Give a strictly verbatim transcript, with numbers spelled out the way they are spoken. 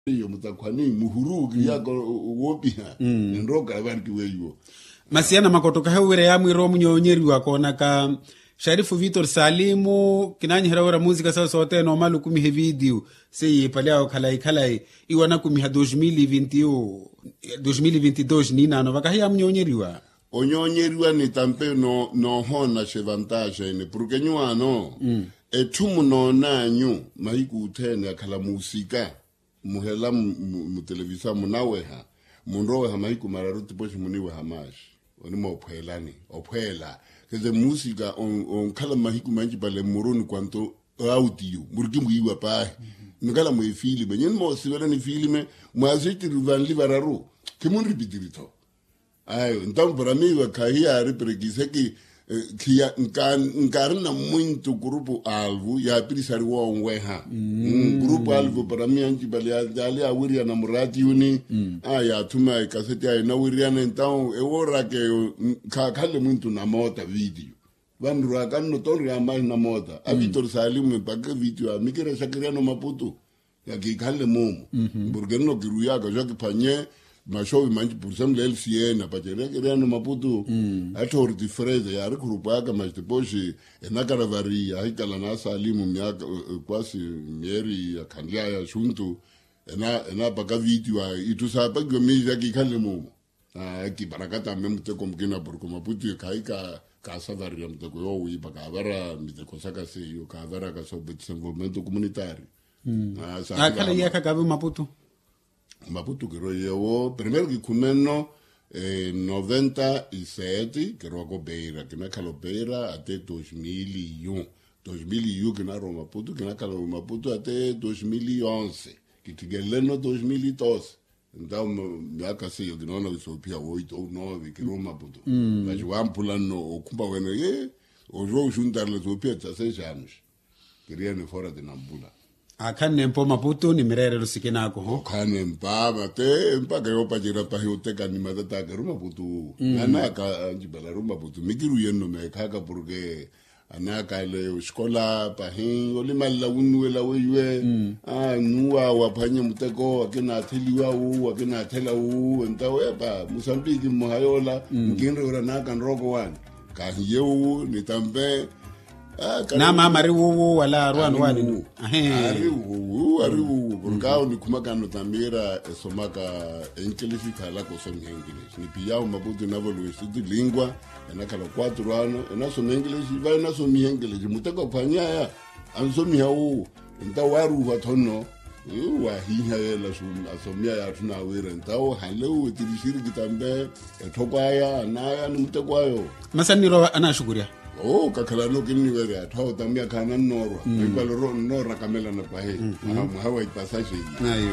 Iyo mutakhwani muhuru kiyaka woopiha. Ninroka evanki weiwo. Masi ana makotokahe wira yaamwiira omunyoonyeriwa koonaka. Sharifu vitor salimu kinaanyihera wira muusika sawe sothene omala okumiha evidiyu. Seiye ipale awo khalayi khalayi iwo anakumiha dos mil e vinti dos ninaano vakahi yaamunyoonyeriwa. Onyoonyeriwa ni tampe noohoona xevantaxa ene porke nyuwaano etthu munoonanyu mahiku othene akhala muusika. Muhela mutelevisa munaweha munroweha mahiku mararu tipoxi muniweha maaxi. Onimoophweelani ophweela keze muusika onkhala mahiku manci pale mmuruni kwanto autiyu muriki mwiiwa paahi. Nikhala mweefilime nyini moosivela nifilime mwaasitiri vanli vararu. Khimunripitiri-tho. Ayo ntamu para miiwa khahiyaari perekiseki. Khiya nkaarina mwintu kurupu alvu yaapirisari woonweha. Kurupu alvu para miyancipali yaali yaawiriyana muraatiyuni. Yaathuma ekaseti ayo enawiriyana entawu ewooraka eyo. Khaakhanle mwintu namoota vitiyo vanrurwaka nno tonriyamahi namoota a vitor salimu mpakha vitiyo amikira exakiriyana omaputu. Yakiikhanle moomu porke nno kiruwiyaka xo kiphwanye maxovi manci porsemlo elisiye napacerya kiriyana omaputu. Atthooriti freze yaari khurupwaka maxi tipoxi enakaravari yahikala naasalimu myaaka kwasi myeeri yakhanlyaya axuntu. Enaapaka vitiyo ayo itthu saapakiwa miixi yakiikhanle moomu. Kiparakata mme muteko mukina porke omaputu khayi kaasavarirya muteko yoowiipa kaavara miteko saka seiyo kaavaraka so desenvolvimento comunitari. Aakhala iyaakha kaavi omaputu. Omaputu kirweiyewo primero kikhume nno noventa e sete kirwaka opeira kinakhala opeira ate dos mil e um. Dos mil e um kinarwa omaputu kinakhala omaputu ate dos mil e onze. Kittikelele nno dos mil e doze. Entawu myaaka seiyo kinoona wisoophiya woito ou noove kiri omaputu. Maxi wamphula nno okhumpa wene ye oxuwa oxuntarela soophiya tsa sexanos. Kiri ene fora tinampula. Aakhannempa omaputu ni mireerelo sikinaakoho. Okhannempa mate mpakha yoopacerya pahi oteka ni matataka eri omaputu wuwo. Nanaaka ancipala eri omaputu mikiruwiye nno meekhaaka porke anaakaale oxikola pahi olimalela wunnuwela weiwe. Nuwa waphwanye muteko akinaatheliwa wu akinaathela wu entawo epa musambiki mmoha yoola nkinre wira naaka nrooko waani. Kahiye wu ni tampe. Naamaama ari wuwu wala arwaani waani. Ari wuwu ari wuwu porke awo nikhumakano tamira esomaka enkilixi khalaka osomiha enkilixi nipiyawo maputu inavoliwa institutu lingua. Enakhala quatro ano enasoma enkilexi va enasomiha enkilexi muteko aphwanyaya ansomiha wuwo. Entawo waaruuha thono waahiiha yeela asomiha yaatthuna wira entawo hanle wuwo etirixiri kitampe etthoko aya anaya ni muteko ayo. Masi annirowa anaxukurya. Oo kakhalano kinniwerya atthu awo tamya khaanannoorwa. Ekalo nnoorakamelana pahi mwaha wa ipasaxe iye.